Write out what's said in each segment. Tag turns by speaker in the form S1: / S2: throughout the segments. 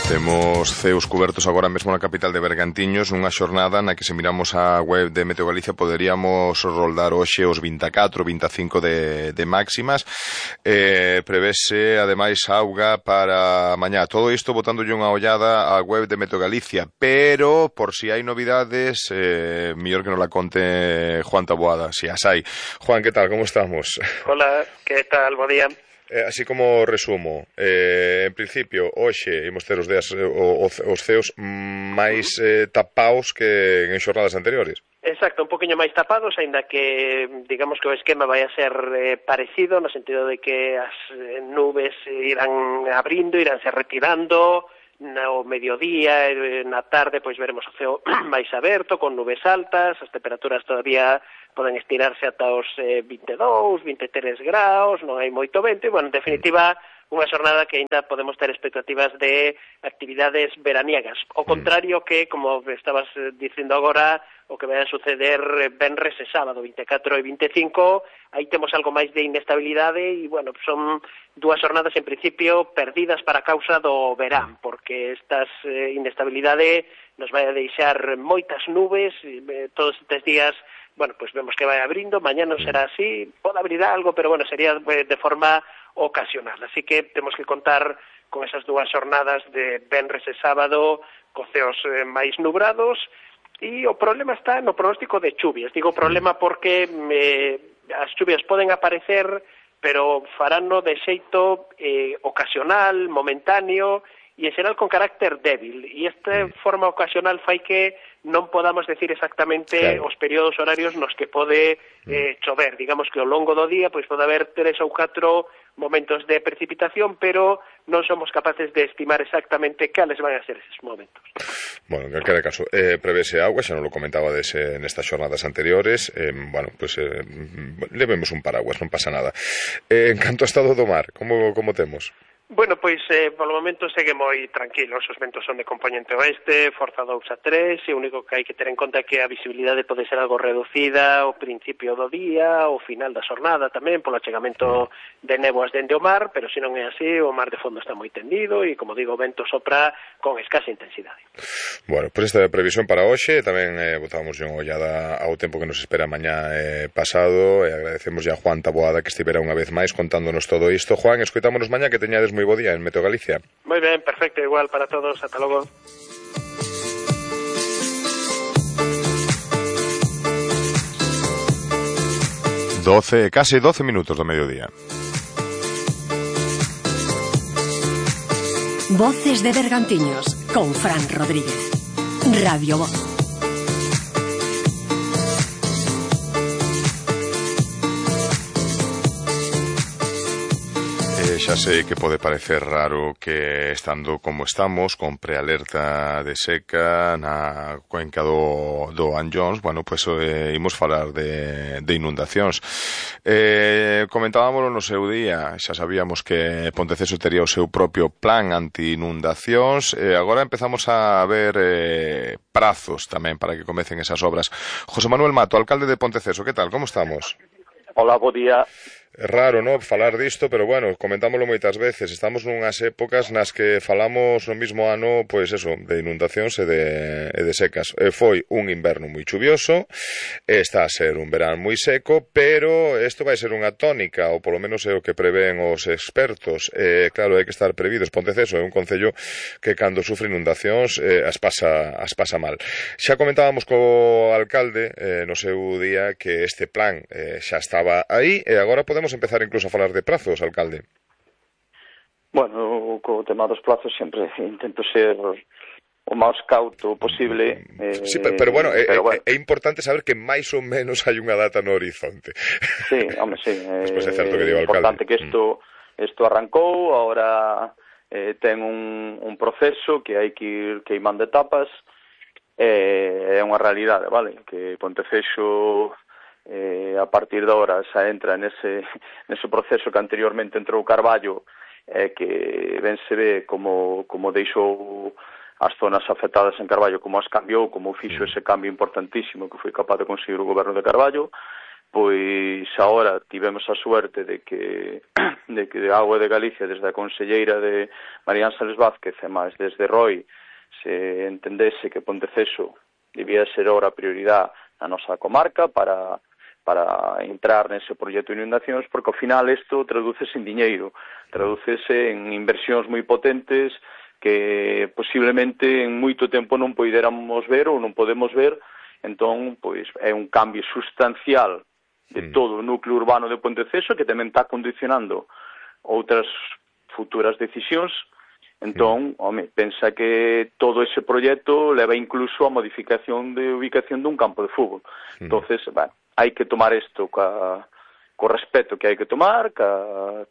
S1: Temos ceos cubertos agora mesmo na capital de Bergantiños nunha xornada na que se miramos a web de Meteo Galicia poderíamos roldar hoxe os 24, 25 de máximas. Prevese ademais auga para mañá. Todo isto botándolle unha ollada á web de Meteo Galicia, pero por si hai novidades, mellor que nos la conte Juan Taboada, si as hai. Juan, que tal? Como estamos?
S2: Hola, que tal? Bo día.
S1: Así como resumo, en principio, hoxe imos ter os ceos máis tapaos que en xornadas anteriores.
S2: Exacto, un poquinho máis tapados, aínda que digamos que o esquema vai a ser parecido, no sentido de que as nubes irán abrindo, iránse retirando, no mediodía, na tarde, pois veremos o ceo máis aberto, con nubes altas, as temperaturas todavía poden estirarse ata os 22, 23 graus, non hai moito vento, e, bueno, en definitiva, unha xornada que ainda podemos ter expectativas de actividades veraniegas. O contrario que, como estabas dicindo agora, o que vai a suceder venres e sábado, 24 e 25, aí temos algo máis de inestabilidade e, bueno, son dúas xornadas en principio perdidas para causa do verán, porque estas inestabilidade nos vai a deixar moitas nubes, todos estes días, bueno, pues vemos que vai abrindo, mañá non será así, pode abrir algo, pero bueno, sería de forma ocasional, así que temos que contar con esas dúas xornadas de venres e sábado, co ceos máis nubrados, e o problema está no pronóstico de chuvias. Digo problema porque as chuvias poden aparecer, pero farano de xeito ocasional, momentáneo, e en xeral con carácter débil, e esta forma ocasional fai que non podamos decir exactamente os períodos horarios nos que pode chover. Digamos que ao longo do día pois pode haber 3 ou 4 momentos de precipitación, pero non somos capaces de estimar exactamente cales van a ser eses momentos.
S1: Bueno, en calquera caso, prevese agua, xa non lo comentaba nestas xornadas anteriores, bueno, pues levemos un paraguas, non pasa nada. En canto a estado do mar, como temos?
S2: Bueno, pois, polo momento segue moi tranquilos, os ventos son de componente oeste, forza 2 a 3, e o único que hai que ter en conta é que a visibilidade pode ser algo reducida ao principio do día, ao final da xornada tamén, polo achegamento de néboas dende o mar, pero se non é así, o mar de fondo está moi tendido e, como digo, o vento sopra con escasa intensidade.
S1: Bueno, pois esta previsión para hoxe, tamén botábamos unha ollada ao tempo que nos espera mañá pasado, e agradecemos a Juan Taboada que estivera unha vez máis contándonos todo isto. Juan, escoitámonos mañá, que teñades moi bo día en Meteo Galicia.
S2: Moi ben, perfecto, igual para todos, ata logo.
S1: Case 12 minutos do mediodía.
S3: Voces de Bergantiños con Fran Rodríguez. Radio Voz.
S1: Xa sei que pode parecer raro que estando como estamos, con prealerta de seca na cuenca do Anllóns, bueno, pues imos falar de inundacións. Comentábamoslo no seu día, xa sabíamos que Ponteceso tería o seu propio plan anti-inundacións, agora empezamos a ver prazos tamén para que comecen esas obras. José Manuel Mato, alcalde de Ponteceso, que tal, como estamos?
S4: Hola, bo día.
S1: É raro, non, falar disto, pero bueno, comentámoslo moitas veces. Estamos nunhas épocas nas que falamos no mismo ano, pois eso, de inundacións e de secas. Foi un inverno moi chuvioso, está a ser un verán moi seco, pero isto vai ser unha tónica, ou polo menos é o que prevén os expertos. Claro, hai que estar previdos. Ponteceso é un concello que cando sufre inundacións as pasa mal. Xa comentábamos co alcalde no seu día que este plan xa estaba aí, e agora podemos empezar incluso a falar de prazos, alcalde.
S4: Bueno, co tema dos plazos sempre intento ser o máis cauto posible.
S1: Sí, pero bueno, é importante saber que máis ou menos hai unha data no horizonte.
S4: Sí, home, sí.
S1: Despois é certo que digo, alcalde.
S4: É importante que isto arrancou, agora ten un proceso que hai que ir queimando etapas, é unha realidade, vale? Que Ponteceso a partir de ahora xa entra nese proceso que anteriormente entrou Carballo, que ben se ve como deixou as zonas afectadas en Carballo, como as cambiou, como fixo ese cambio importantísimo que foi capaz de conseguir o goberno de Carballo. pois agora tivemos a suerte de que a Auga de Galicia, desde a conselleira de María Ángeles Vázquez e máis desde ROI, se entendese que Ponteceso debía ser ahora a prioridade na nosa comarca para entrar nese proxecto de inundacións, porque ao final isto tradúcese en diñeiro, tradúcese en inversións moi potentes que posiblemente en moito tempo non poderamos ver ou non podemos ver. Entón, pois, é un cambio sustancial de todo o núcleo urbano de Ponteceso que tamén está condicionando outras futuras decisións. Entón, pensa que todo ese proxecto leva incluso a modificación de ubicación dun campo de fútbol. Entonces, hai que tomar isto co respeto que hai que tomar, ca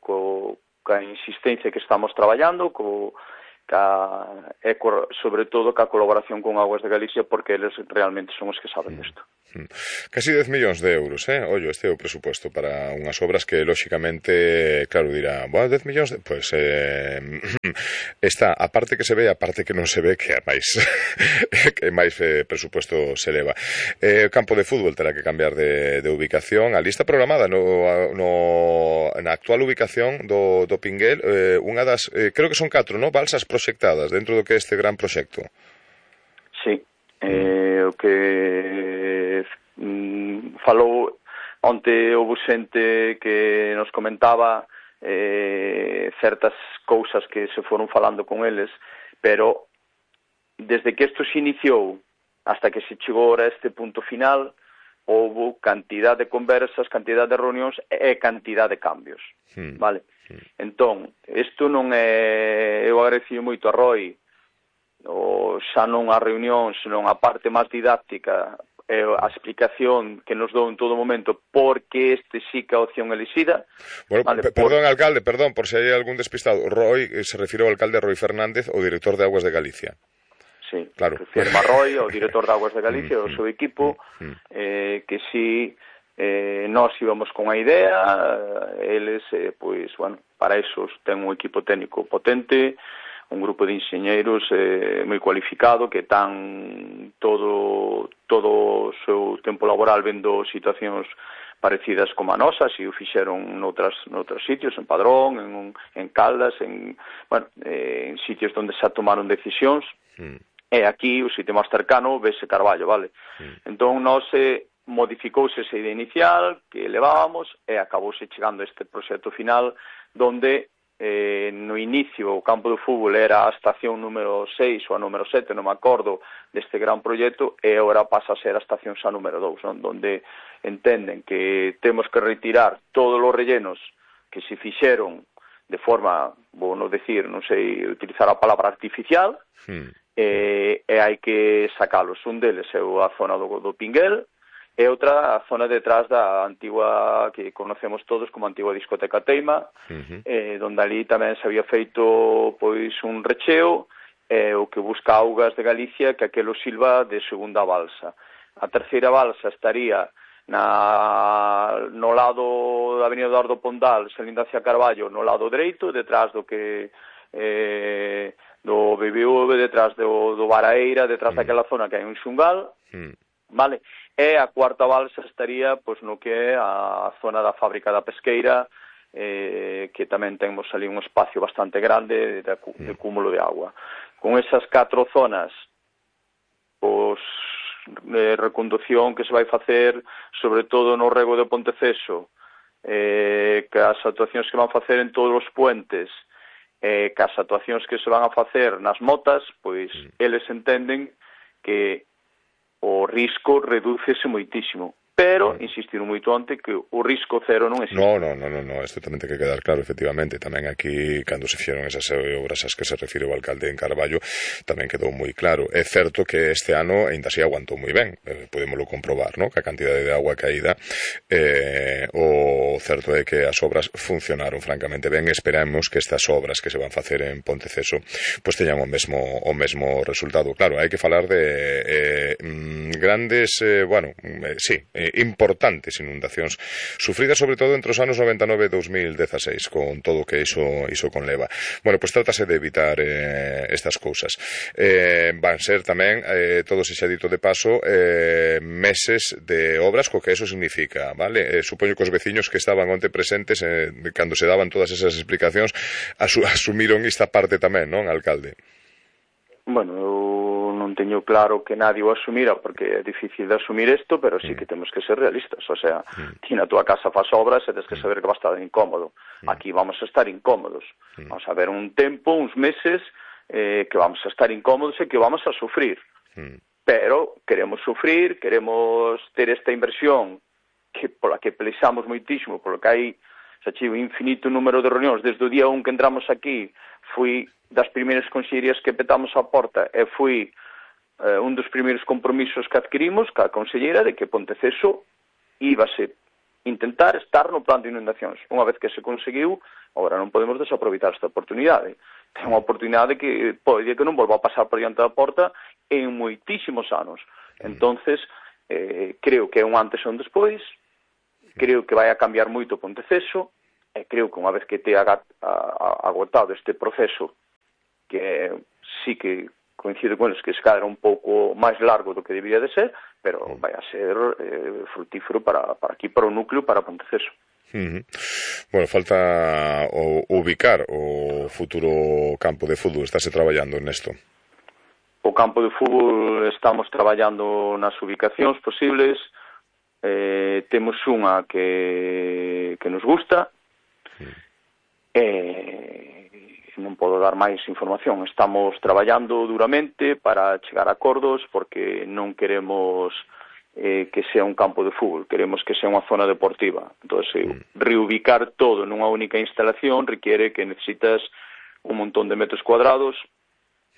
S4: insistencia que estamos traballando, sobre todo ca colaboración con Augas de Galicia, porque eles realmente son os que saben disto.
S1: Casi 10 millóns de euros, ollo, este é o presuposto para unhas obras que, lóxicamente, claro, dirá, 10 millóns, pois está a parte que se ve e a parte que non se ve, que é máis presuposto se leva. O campo de fútbol terá que cambiar de ubicación. A lista programada na actual ubicación do Pinguel, unha das, creo que son 4, balsas proxectadas dentro do que é este gran proxecto.
S4: Sí, o que falou onte houve xente que nos comentaba certas cousas que se foron falando con eles, pero desde que isto se iniciou hasta que se chegou a este punto final houve cantidad de conversas, cantidad de reunións e cantidad de cambios, vale? Entón, isto non é... Eu agradecio moito a Roy, xa non a reunión, senón a parte máis didáctica, a explicación que nos dou en todo momento porque este sí que a opción elixida.
S1: Bueno, perdón, alcalde, perdón, por se hai algún despistado. Roy se refire ao alcalde Roy Fernández, o director de Augas de Galicia.
S4: Sí,
S1: claro.
S4: Refirme a Roy, o director de Augas de Galicia, o seu equipo, que sí... nós íbamos con a idea, eles, pois, bueno, para eso ten un equipo técnico potente, un grupo de enxeñeiros moi cualificado que tan todo o seu tempo laboral vendo situacións parecidas como a nosa, se o fixeron noutros sitios, en Padrón, en Caldas, en sitios onde xa tomaron decisións, e aquí o sitio máis cercano vese Carballo, vale? Entón, nós modificouse esa idea inicial que levábamos e acabouse chegando a este proxecto final donde no inicio o campo de fútbol era a estación número 6 ou a número 7, non me acordo, deste gran proxecto, e agora pasa a ser a estación xa número 2, non? Donde entenden que temos que retirar todos os rellenos que se fixeron de forma, vou non decir, non sei utilizar a palabra artificial, e hai que sacalos. Un deles é a zona do Pinguel, e outra a zona detrás da antigua, que conocemos todos como antigua discoteca Teima, donde ali tamén se había feito pois un recheo, o que busca Augas de Galicia que aquelo silva de segunda balsa. A terceira balsa estaría no lado da Avenida Eduardo Pondal, salindo hacia Carballo, no lado dereito, detrás do que do BBV, detrás do Baraeira, detrás daquela zona que hai un xungal, vale? E a cuarta balsa estaría pois no que é a zona da fábrica da pesqueira, que tamén temos ali un espacio bastante grande de cúmulo de agua. Con esas 4 zonas, pois reconducción que se vai facer sobre todo no rego de Ponteceso, que as actuacións que van facer en todos os puentes, que as actuacións que se van a facer nas motas, pois eles entenden que o risco redúcese moitísimo. Pero, insistiron moito onte, que o risco cero non existe.
S1: No, isto tamén ten que quedar claro, efectivamente. Tamén aquí, cando se fixeron esas obras as que se refire o alcalde en Carballo, tamén quedou moi claro. É certo que este ano ainda se aguantou moi ben, podémoslo comprobar, ¿no? Que a cantidade de agua caída, o certo é que as obras funcionaron francamente ben. Esperamos que estas obras que se van facer en Ponteceso pues teñan o mesmo resultado. Claro, hai que falar de grandes, sí, importantes inundacións sufridas sobre todo entre os anos 99 e 2016 con todo o que iso conleva. Bueno, pois trátase de evitar estas cousas. Van ser tamén, todo se xa dito de paso, meses de obras, co que eso significa, vale? Supoño que os veciños que estaban onte presentes cando se daban todas esas explicacións asumiron esta parte tamén, non, alcalde?
S4: Bueno, eu non teño claro que nadie o asumira porque é difícil de asumir isto, pero sí que temos que ser realistas. O sea, ti na tua casa faz obras e tens que saber que va a estar incómodo. Aquí vamos a estar incómodos. Vamos a ver un tempo, uns meses, que vamos a estar incómodos e que vamos a sufrir. Pero queremos sufrir, queremos ter esta inversión que pola que pelexamos moitísimo, polo que hai xa chivo infinito número de reunións. Desde o día 1 que entramos aquí, fui das primeiras consellerías que petamos a porta e fui un dos primeiros compromisos que adquirimos ca consellera de que Ponteceso íbase intentar estar no plan de inundacións. Unha vez que se conseguiu, agora non podemos desaproveitar esta oportunidade. Ten unha oportunidade que pode que non volva a pasar por diante da porta en moitísimos anos. Entonces, creo que é un antes e un despois, creo que vai a cambiar moito Ponteceso, e creo que unha vez que te agotado este proceso, que sí que coincido con eles que se cadra un pouco máis largo do que debería de ser, pero vai a ser frutífero para aquí, para o núcleo, para Ponteceso.
S1: Bueno, falta ubicar o futuro campo de fútbol. Estáse traballando nesto?
S4: O campo de fútbol estamos traballando nas ubicacións posibles. Temos unha que nos gusta. Non podo dar máis información. Estamos traballando duramente para chegar a acordos porque non queremos que sea un campo de fútbol, queremos que sea unha zona deportiva. Entón, reubicar todo nunha única instalación requiere que necesitas un montón de metros cuadrados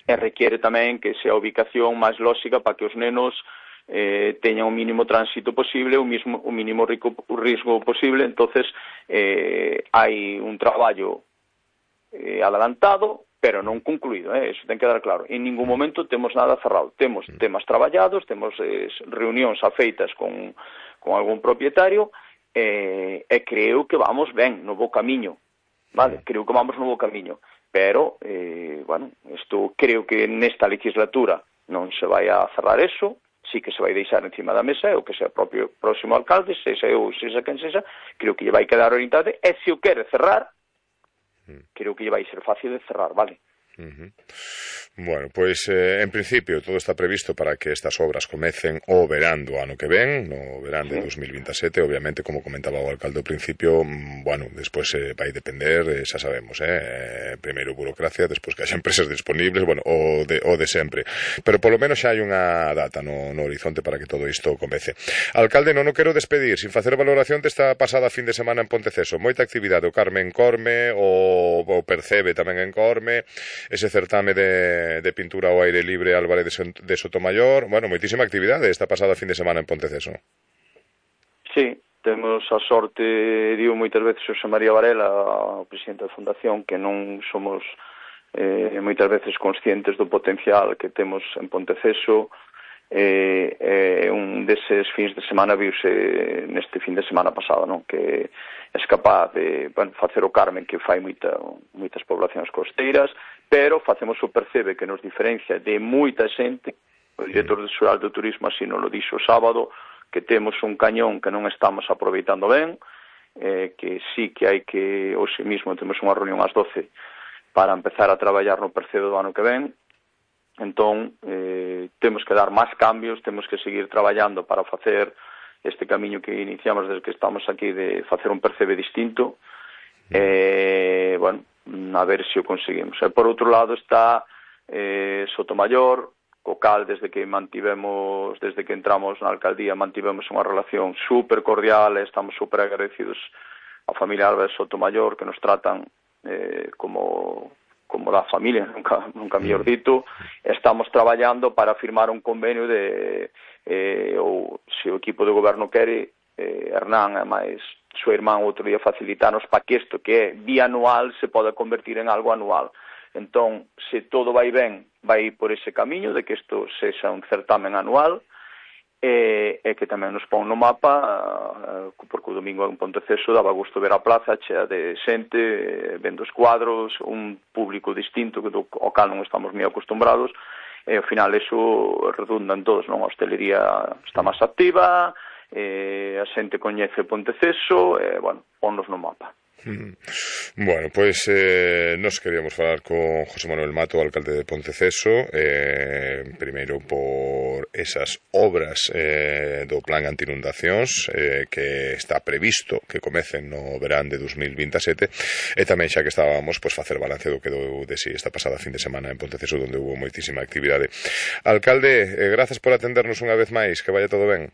S4: e requiere tamén que sea a ubicación máis lóxica para que os nenos teñan o mínimo tránsito posible, o mínimo risco posible. Entonces, hai un traballo adelantado, pero non concluído, eso ten que dar claro. En ningún momento temos nada cerrado. Temos temas traballados, temos reunións afeitas con algún propietario, e creo que vamos ben, no bo camiño, vale? Creo que vamos no bo camiño, pero, bueno, isto creo que nesta legislatura non se vai a cerrar eso, sí que se vai deixar encima da mesa, o que sea o propio próximo alcalde, sexa eu, sexa quen sexa, creo que lle vai quedar orientado, e se o quere cerrar, creo que lle vai ser fácil de cerrar, vale?
S1: Bueno, pois en principio todo está previsto para que estas obras comecen o verán do ano que ven, no verán de 2027, obviamente, como comentaba o alcalde ao principio, bueno, despois vai depender, xa sabemos, primeiro burocracia, despois que haxa empresas disponibles, bueno, o de sempre, pero polo menos xa hai unha data no horizonte para que todo isto comece. Alcalde, non o quero despedir sin facer valoración desta pasada fin de semana en Ponteceso. Moita actividade, o Carme en Corme, o Percebe tamén en Corme, ese certame de pintura ao aire libre Álvarez de Sotomayor. Bueno, moitísima actividade esta pasada fin de semana en Ponteceso.
S4: Sí, temos a sorte, digo moitas veces Xosé María Varela, o presidente da Fundación, que non somos moitas veces conscientes do potencial que temos en Ponteceso. Un deses fins de semana viuse neste fin de semana pasado, non? Que é capaz de facer o Carmen, que fai moitas poblacións costeiras, pero facemos o Percebe, que nos diferencia de moita xente. O director xeral do turismo así nos lo dixo o sábado, que temos un cañón que non estamos aproveitando ben, que sí que hai que, hoxe mesmo temos unha reunión ás 12 para empezar a traballar no Percebe do ano que ven. Entón, temos que dar máis cambios, temos que seguir traballando para facer este camiño que iniciamos desde que estamos aquí, de facer un Percebe distinto. Bueno, a ver se o conseguimos. E por outro lado está Sotomayor, co cal desde que entramos na alcaldía mantivemos unha relación super cordial, e estamos super agradecidos á familia Álvarez Sotomayor, que nos tratan como da familia, nunca mellor dito. Estamos traballando para firmar un convenio ou se o equipo de goberno quere, Hernán e máis súa irmán outro día facilitarnos para que isto, que é bianual, se poda convertir en algo anual. Entón, se todo vai ben, vai por ese camiño de que isto sexa un certamen anual, e que tamén nos pon no mapa, porque o domingo en Ponteceso daba gusto ver a plaza chea de xente, vendo os cuadros, un público distinto ao cal non estamos moi acostumbrados, e ao final eso redunda en todos, non? A hostelería está máis activa, a xente coñece Ponteceso, e, bueno, ponnos no mapa.
S1: Bueno, pois nos queríamos falar con José Manuel Mato, alcalde de Ponteceso, primeiro por esas obras do plan anti-inundacións que está previsto que comecen no verán de 2027, e tamén xa que estábamos, pois facer balance do que deu de si esta pasada fin de semana en Ponteceso, onde hubo moitísima actividade. Alcalde, grazas por atendernos unha vez máis, que vaya todo ben.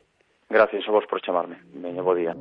S4: Gracias a vos por chamarme. Veña, bo día.